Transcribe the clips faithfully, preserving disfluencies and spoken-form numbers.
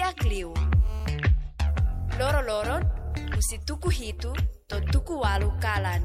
Liu. Loro-loron, husi tuku hitu to'o tuku ualu kalan.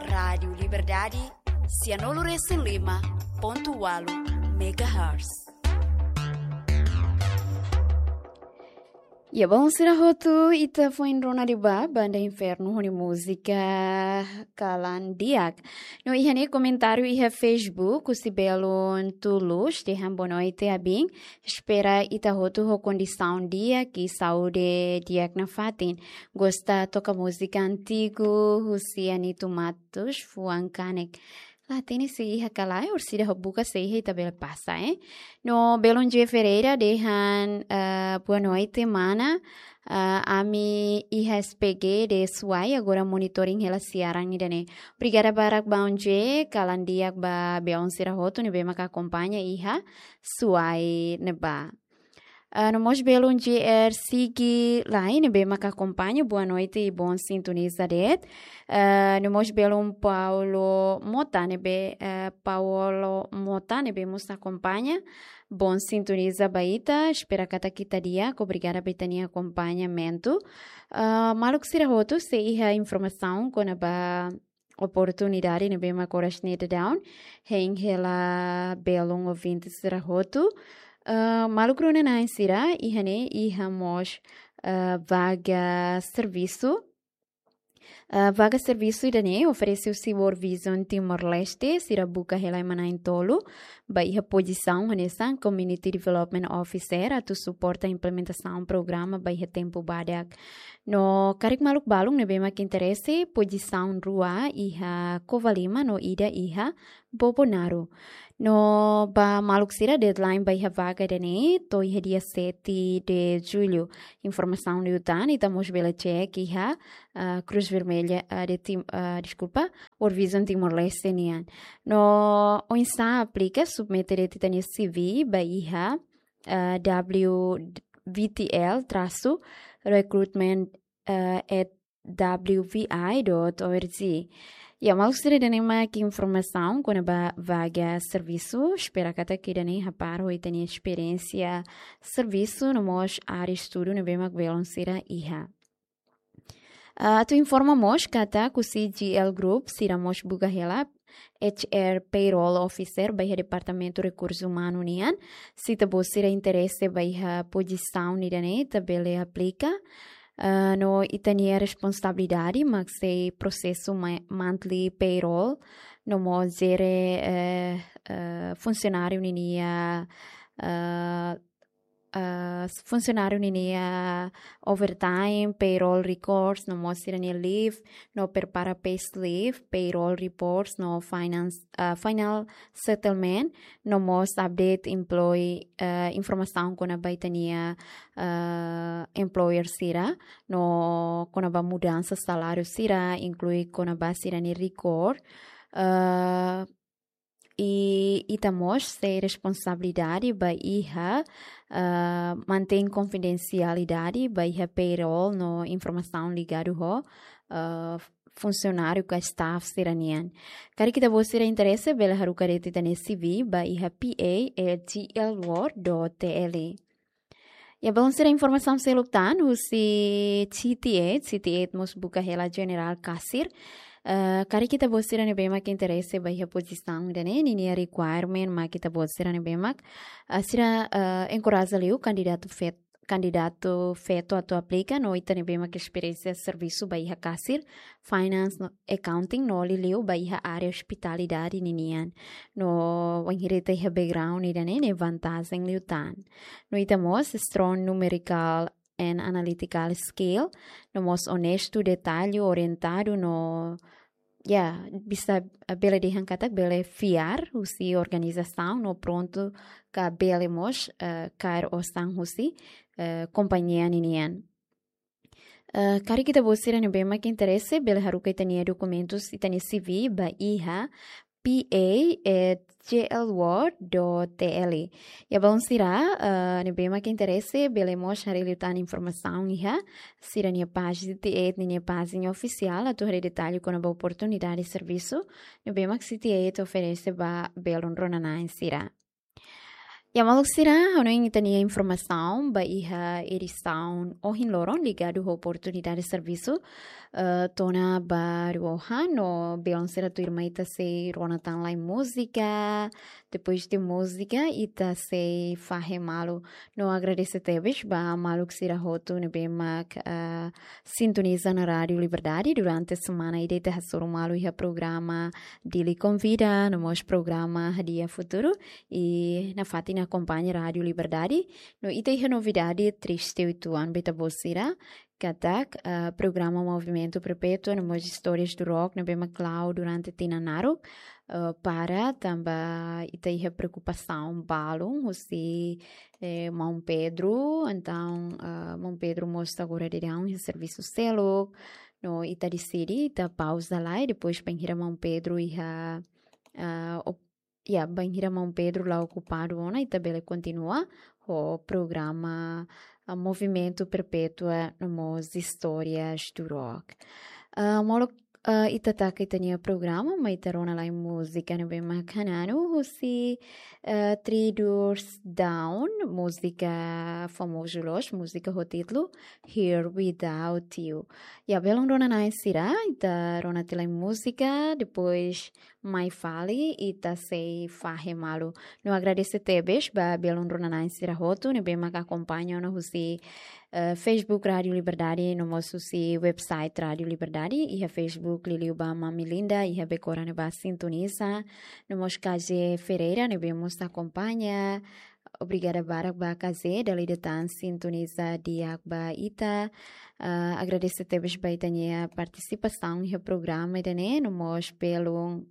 Rádiu Liberdade, sianulu-resin-lima pontu ualu megahertz. Ya, baun sira hotu, ita foin rona liu ba Banda Infernu ho nia múzika Kalan Di'ak. No iha ne'e komentáriu iha Facebook, husi belun Tulus, dehan boa noite, Abin. Espera ita hotu ho kondisaun di'ak i saúde di'ak nafatin. Gosta toka múzika antigu, husi Anito Matos, Fuan Kanek. La hatene se iha ka lae, orsida ha'u buka se iha ita bele pasa, eh. No belun J Ferreira dehan, eh, boa noite, mana. Eh, ami iha S P G de Suai, agora monitoring hela siaran ida-ne'e. Obrigada barak baun J, kalan di'ak ba belun sira hotu ne'ebé maka akompaña iha Suai ne'ebá. Ah, no mós belun J R Sigi Lai ne'ebé maka akompaña, boa noite i bon sintoniza de'it. Ah, no mós belun Paulo Mota ne'ebé, eh, Paulo Mota ne'ebé mós akompaña, bon sintoniza ba ita, espera katak ita di'ak, obrigada ba ita-nia akompañamentu. Ah, maluk sira hotu, se iha informasaun kona-ba oportunidade ne'ebé mak oras ne'e daudaun hein hela belun ouvinte sira hotu. Ah, maluk rona-na'in sira, iha ne'e iha mós, ah, vaga servisu. Ah, vaga servisu ida-ne'e oferese husi World Vision Timor-Leste, sira buka hela ema na'in-tolu ba iha pozisaun hanesan Community Development Officer, atu suporta implementasaun programa ba iha tempu badak. No karik maluk balun ne'ebé mak interese, pozisaun rua iha Covalima no ida iha Bobonaro. No ba maluk sira, deadline ba iha vaga ida-ne'e to'o iha dia sete de julho. Informasaun liután ita mós bele cek iha, ah, Cruz Vermelha, ah, de Tim-, ah, deskulpa, World Vision Timor-Leste nian. No oinsá aplika, submete de'it ita-nia C V ba iha, ah, W V T L trasu recruitment, ah, at W V I dot O R G. Ya, maluk sira, ida-ne'e mak informasaun kona-ba vaga servisu, espera katak ida-ne'e hapar ho ita-nia esperiénsia servisu no mós área estudu ne'ebé mak belun sira iha. Ah, atu informa mós katak husi G L Group, sira mós buka hela H R Payroll Officer ba iha Departamentu Rekursu Umanu nian. Se ita-boot sira interese ba iha pozisaun ida-ne'e, ita bele aplika. Ah, no ita-nia responsabilidade mak sei prosesu ma-, monthly payroll, no mós jere, eh, eh, funsionáriu ninia, eh, eh, funsionáriu ninia overtime, payroll records, no mós sira-nia leave, no prepara payslip, payroll reports, no finance, eh, final settlement, no mós update employee, eh, informasaun kona-ba ita-nia, eh, employer sira, no kona-ba mudansa saláriu sira, inklui kona-ba sira-nia record, eh, i ita mós sei responsabilidade ba iha, eh, mantein konfidensialidade ba iha payroll no informasaun ligadu ho, eh, funsionáriu ka staff sira-nian. Karik ita-boot sira interese, bele haruka de'it ita-nia C V ba iha P A at G L world dot T L. Ya, belun sira, informasaun seluk tan husi C T eight, C T eight mós buka hela jenerál kasir. Eh, karik ita-boot sira ne'ebé mak interese ba iha pozisaun ida-ne'e, ninia requirement mak ita-boot sira ne'ebé mak, eh, sira, eh, enkoraja liu kandidatu fet-, kandidatu feto atu aplika, no ita ne'ebé mak esperiénsia servisu ba iha kasir, finance no accounting, no liuliu ba iha área ospitalidade ninian. No wainhira ita iha background ida-ne'e, ne'e vantajen liután. No ita mós strong numerical and analytical skill, no mós onestu, detallu, orientadu, no ya, bisa, eh, bele dehan katak bele fiar husi organizasaun, no prontu ka bele mós, eh, kaer osan husi, eh, kompañia ninian. Eh, karik ita-boot sira ne'ebé mak interese, bele haruka ita-nia dokumentus, ita-nia C V ba iha P A at G L world dot T L. Ya, belun sira, eh, ne'ebé mak interese, bele mós haree liután informasaun iha sira-nia pájina, C T eight ninia pájina ofisiál, atu haree detallu kona-ba oportunidade servisu ne'ebé mak C T eight oferese ba belun rona-na'in sira. Ya, maluk sira, hanoin ita-nia informasaun ba iha edisaun ohin loron ligadu ho oportunidade servisu, eh, to'o ona ba rua ona, no belun sira tuirmai ita sei rona tan lai múzika, depois de múzika ita sei fahe malu. No agradese tebes ba maluk sira hotu ne'ebé mak, eh, sintoniza ona Rádiu Liberdade durante semana ida ita hasoru malu iha programa Dili Konvida, no mós programa Hadi'a Futuru, i nafatin akompaña Rádiu Liberdade. No ita iha novidade triste uitoan ba ita-boot sira, katak, ah, programa Movimentu Perpétua, no mós Istórias do Rock, ne'ebé mak la'o durante tinan naruk, ah, para tanba ita iha preokupasaun balun husi, eh, maun Pedro. Entaun, ah, maun Pedro mós agora daudaun iha servisu seluk, no ita deside ita pauza lai, depois bainhira maun Pedro iha, ah, op-, ya, bainhira maun Pedro la okupadu ona, ita bele kontinua ho programa, ah, Movimentu Perpétua, no mós Istórias do Rock. Ah, molok, ah, ita taka ita-nia programa, mai ita rona lai múzika ne'ebé mak hananu husi, eh, Three Doors Down, múzika famozu loos, múzika ho títulu Here Without You. Ya, belun rona-na'in sira, ita rona tiha lai múzika, depois mai fali ita sei fahe malu. No agradese tebes ba belun rona-na'in sira hotu ne'ebé mak akompaña ona husi, eh, Facebook Rádiu Liberdade, no mós husi website Rádiu Liberdade, iha Facebook liuliu ba Mami Linda, iha Bekora ne'ebá sintoniza, no mós K J Ferreira ne'ebé mós akompaña. Obrigada barak ba K J, dala ida tan sintoniza di'ak ba ita. Ah, agradese tebes ba ita-nia partisipasaun iha programa ida-ne'e, no mós belun,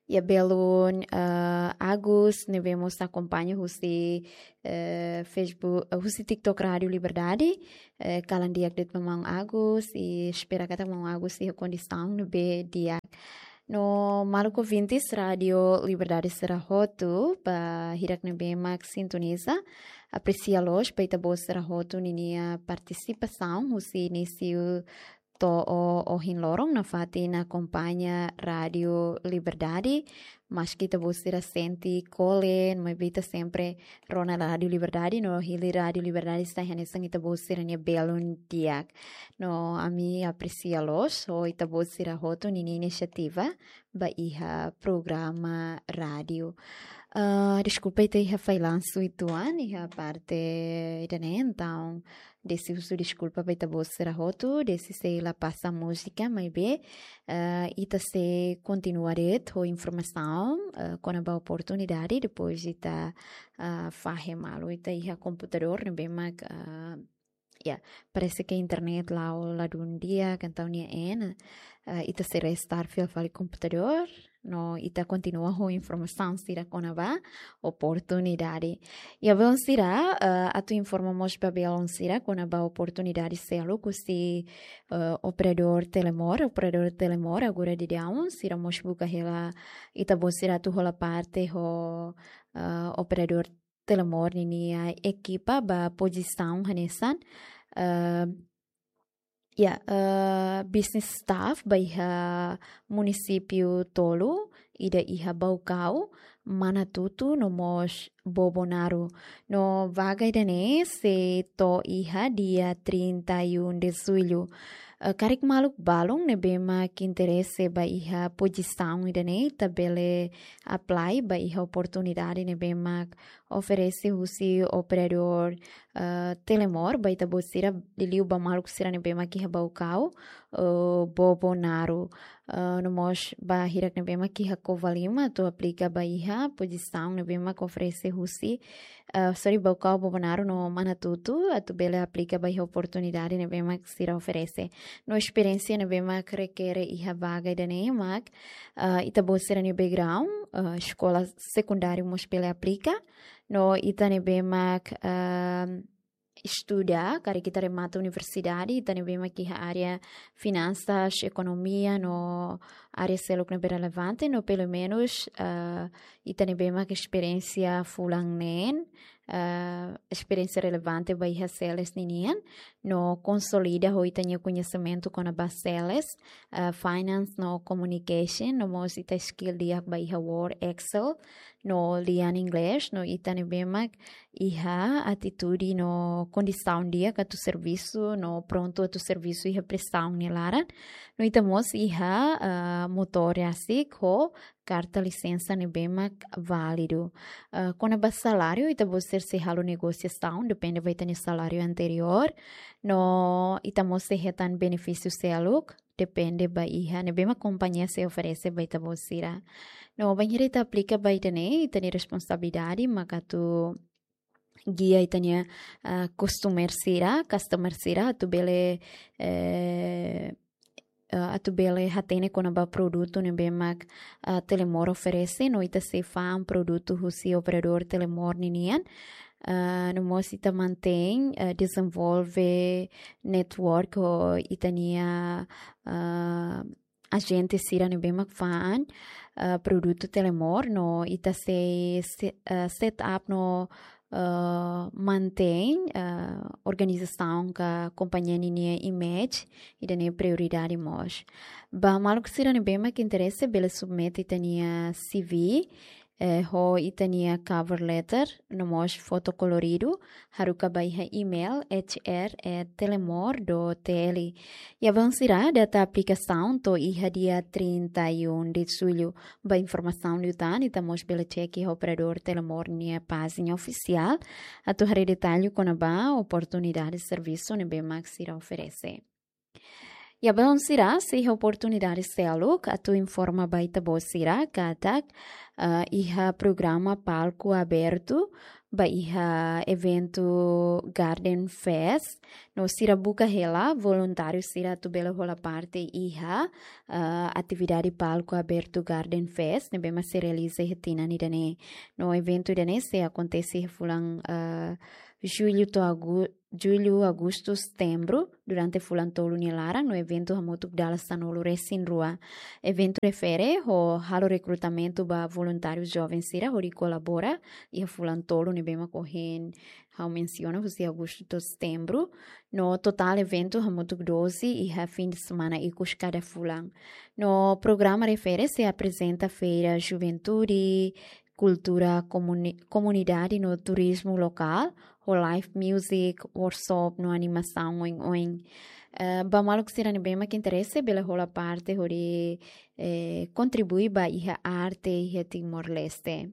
ya, belun, ah, Agus ne'ebé mós akompaña husi, eh, Facebook, eh, husi TikTok Rádiu Liberdade. Eh, kalan di'ak de'it ba maun Agus, i espera katak maun Agus iha kondisaun ne'ebé di'ak. No maluk ouvintes Rádiu Liberdade sira hotu, ba hirak ne'ebé mak sintoniza, apresia loos ba ita-boot sira hotu ninia partisipasaun husi inísiu to'o ohin loron nafatin akompaña Rádiu Liberdade. Maski ita-boot sira sente kolen, maibé ita sempre rona Rádiu Liberdade, no hili Rádiu Liberdade sai hanesan ita-boot sira-nia belun di'ak. No ami apresia loos ho ita-boot sira hotu ninia inisiativa ba iha programa rádiu. Ah, deskulpa, ita iha fallansu uitoan iha parte ida-ne'e, entaun dezde husu deskulpa ba ita-boot sira hotu, dezde sei la pasa múzika, maibé, eh, ita sei kontinua de'it ho informasaun, eh, kona-ba oportunidade, depois ita, ah, fahe malu. Ita iha komputadór ne'ebé mak, ah, ya, parese ke internet la'o ladún di'ak, entaun nia en, eh, ita sei restart fila fali komputadór, no ita kontinua ho informasaun sira kona-ba oportunidade. Ya, belun sira, eh, atu informa mós ba belun sira kona-ba oportunidade seluk husi, eh, operadór Telemor, operadór Telemor, agora daudaun, sira mós buka hela ita-boot sira atu hola parte ho, eh, operadór Telemor ninia ekipa ba pozisaun hanesan, eh, ya, eh, business staff ba iha munisípiu tolu, ida iha Baucau, Manatuto, no mós Bobonaro. No vaga ida-ne'e sei to'o iha dia trinta e um de julho. Eh, karik maluk balun ne'ebé mak interese ba iha pozisaun ida-ne'e, ita bele apply ba iha oportunidade ne'ebé mak oferese husi operadór, eh, Telemor, ba ita-boot sira, liuliu ba maluk sira ne'ebé mak iha Baucau, eh, Bobonaro. Eh, no mós ba hirak ne'ebé mak iha Covalima, atu aplika ba iha pozisaun ne'ebé mak oferese husi, eh, sorry, Baucau, Bobonaro no Manatuto, atu bele aplika ba iha oportunidade ne'ebé mak sira oferese. No esperiénsia ne'ebé mak rekere iha vaga ida-ne'e mak, eh, ita-boot sira-nia background, eh, eskola sekundáriu mós bele aplika, no ita ne'ebé mak, ehm, estuda, karik ita remata universidade, ita ne'ebé mak iha área finansas, ekonomia, no área seluk ne'ebé relevante, no pelumenus, eh, ita ne'ebé mak esperiénsia fulan neen, ah, esperiénsia relevante ba iha sales ninian, no konsolida ho ita-nia koñesimentu kona-ba sales, ah, finance no communication, no mós ita skill di'ak ba iha Word, Excel, no lian inglés, no ita ne'ebé mak iha atitude no kondisaun di'ak atu servisu, no prontu atu servisu iha presaun nia laran, no ita mós iha, ah, motór rasik ho karta lisensa ne'ebé mak válidu. Ah, kona-ba saláriu, ita-boot sira sei halo negosiasaun, depende ba ita-nia saláriu anteriór, no ita mós sei hetan benefísiu seluk, depende ba iha ne'ebé mak kompañia sei oferese ba ita-boot sira. No bainhira ita aplika ba ida-ne'e, ita-nia responsabilidade maka atu gia ita-nia, ah, customer sira, customer sira, atu bele, eh, ah, atu bele hatene kona-ba produtu ne'ebé mak, ah, Telemor oferese, no ita sei fa'an produtu husi operadór Telemor ninian. Ah, no mós ita mantein, ah, dezenvolve network ho ita-nia, ah, ajente sira ne'ebé mak fa'an, ah, produtu Telemor, no ita sei se-, ah, set up no, ah, mantein, ah, organizasaun ka kompañia ninia image, ida-ne'e prioridade mós. Ba maluk sira ne'ebé mak interese, bele submete ita-nia C V, eh, ho ita-nia cover letter, no mós foto koloridu, haruka ba iha email H R at telemor dot T L. Iha ba oan sira, data aplikasaun to'o iha dia trinta e um de julho. Ba informasaun liután, ita mós bele cek iha operadór Telemor nia pájina ofisiál, atu haree detallu kona-ba oportunidade servisu ne'ebé mak sira oferese. Iha ba oan sira, sei iha oportunidade seluk atu informa ba ita-boot sira katak, ah, iha programa palku abertu ba iha eventu Garden Fest, no sira buka hela voluntáriu sira atu bele hola parte iha, ah, atividade palku abertu Garden Fest ne'ebé mak sei realiza iha tinan ida-ne'e. No eventu ida-ne'e sei akontese iha fulan, ah, jullu to'o agu-, jullu, agostu, setembru, durante fulan tolu nia laran, no eventu hamutuk dala sanulu-resin-rua. Eventu refere ho halo rekrutamentu ba voluntáriu joven sira hodi kolabora iha fulan tolu ne'ebé mak ohin ha'u mensiona, husi agostu to'o setembru, no totál eventu hamutuk doze iha fin de semana ikus kada fulan. No programa refere sei aprezenta feira juventude, kultura komuni-, komunidade no turizmu lokál, ho live music, workshop no animasaun oin-oin. Eh, ba maluk sira ne'ebé mak interese, bele hola parte hodi, eh, kontribui ba iha arte iha Timor-Leste.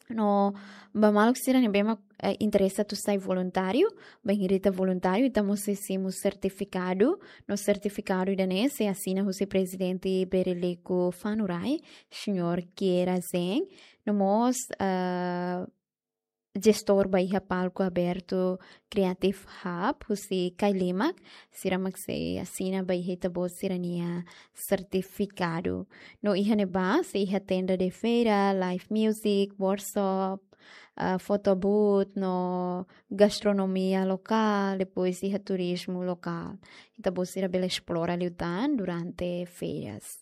No ba maluk sira ne'ebé mak, eh, interese atu sai voluntáriu, bainhira ita voluntáriu, ita mós sei simu sertifikadu, no sertifikadu ida-ne'e sei asina husi Prezidente Bereliku Fanurai, Señór Kiera Zeng, no mós, ah, jestór ba iha palku abertu Creative Hub, husi Kailimak, sira mak sei asina ba iha ita-boot sira-nia sertifikadu. No iha ne'ebá, sei iha tenda de feira, live music, workshop, ah, photo booth, no gastronomia lokál, depois iha turizmu lokál. Ita-boot sira bele esplora liután durante férias.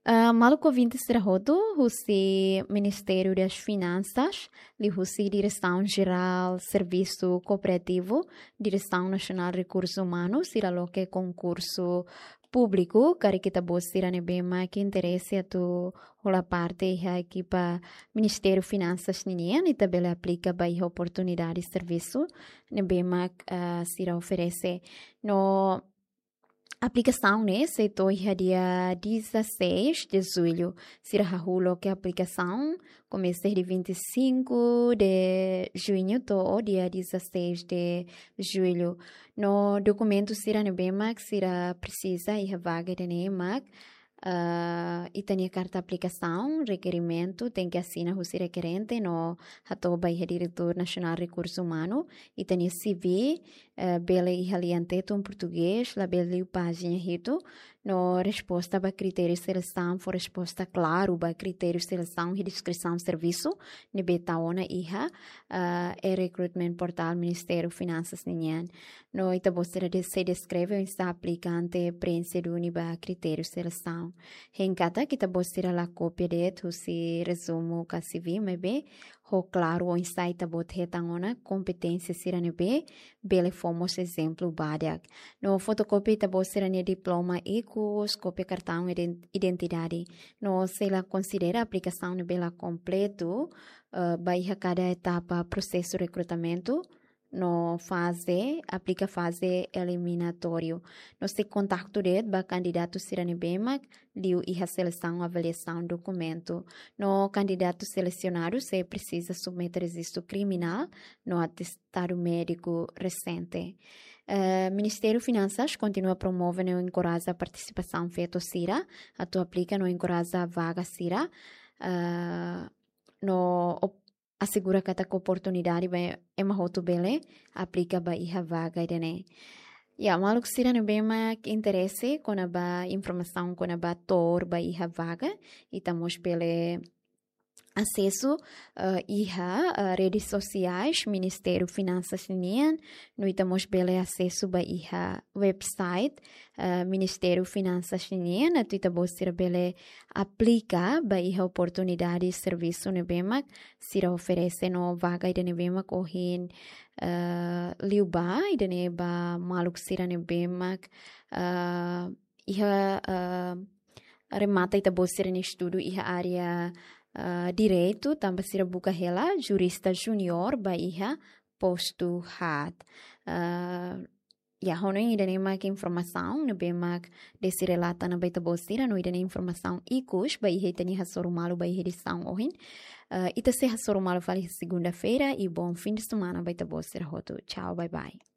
Ah, maluk ouvinte sira hotu, husi Ministériu das Finansas, liuhusi Diresaun Jerál Servisu Kooperativu, Diresaun Nasionál Rekursu Umanu, sira loke konkursu públiku, karik ita-boot sira ne'ebé mak interese atu hola parte iha ekipa Ministériu Finansas ninian, ita bele aplika ba iha oportunidade servisu ne'ebé mak, ah, sira oferese. No aplikasaun ne'e sei to'o iha dia dezasseis de julho. Sira hahú loke aplikasaun, komesa de vinte e cinco de junho to'o dia dezasseis de julho. No dokumentu sira ne'ebé mak sira presiza iha vaga ida-ne'e mak, ah, ita-nia karta aplikasaun, rekerimentu, tenke asina husi rekerente, no hato'o ba iha Diretór Nasionál Rekursu Umanu, ita-nia C V, eh, bele iha lian Tetun, portugés, labele liu pájina hitu, no resposta ba kritériu selesaun fó resposta klaru ba kritériu selesaun iha deskrisaun servisu ne'ebé ita ona iha, ah, e-recruitment portál Ministériu Finansas ninian. No ita-boot sira de-, sei deskreve oinsá aplikante preenxe duni ba kritériu selesaun. Hein katak ita-boot sira la kópia de'it husi rezumu ka C V, maibé ho klaru oinsá ita-boot hetan ona kompeténsia sira ne'ebé bele fó mós ezemplu ba di'ak. No fotokópia ita-boot sira-nia diploma ikus, kópia kartaun iden-, identidade. No sei la konsidera aplikasaun ne'ebé la kompletu, eh, ba iha kada etapa prosesu rekrutamentu, no faze, aplika faze eliminatóriu. No sei kontaktu de'it ba kandidatu sira ne'ebé mak liu iha selesaun avaliasaun dokumentu. No kandidatu selesionadu sei presiza submete rejistu kriminál no atestadu médiku resente. Eh, Ministériu Finansas kontinua promove no enkoraja partisipasaun feto sira atu aplika no enkoraja vaga sira, eh, no op-, asegura katak oportunidade ba ema hotu bele aplika ba iha vaga ida-ne'e. Ya, maluk sira ne'ebé mak interese kona-ba informasaun kona-ba to'o ba iha vaga, ita mós bele asesu, eh, iha, eh, redes sosiais Ministériu Finansas nian, no ita mós bele asesu ba iha website, eh, Ministériu Finansas nian, atu ita-boot sira bele aplika ba iha oportunidade servisu ne'ebé mak sira oferese no vaga ida ne'ebé mak ohin, eh, liubá, ida-ne'e ba maluk sira ne'ebé mak, eh, iha, eh, remata ita-boot sira-nia estudu iha área, eh, direitu, tanba sira buka hela jurista júnior ba iha postu haat. Eh, ya, ha'u hanoin ida-ne'e mak informasaun ne'ebé mak Desi relata ona ba ita-boot sira, no ida-ne'e informasaun ikus ba iha ita-nia Hasoru Malu ba iha edisaun ohin. Eh, ita sei hasoru malu fali segunda-feira, i bom fim de semana ba ita-boot sira hotu. Tchau, bye bye.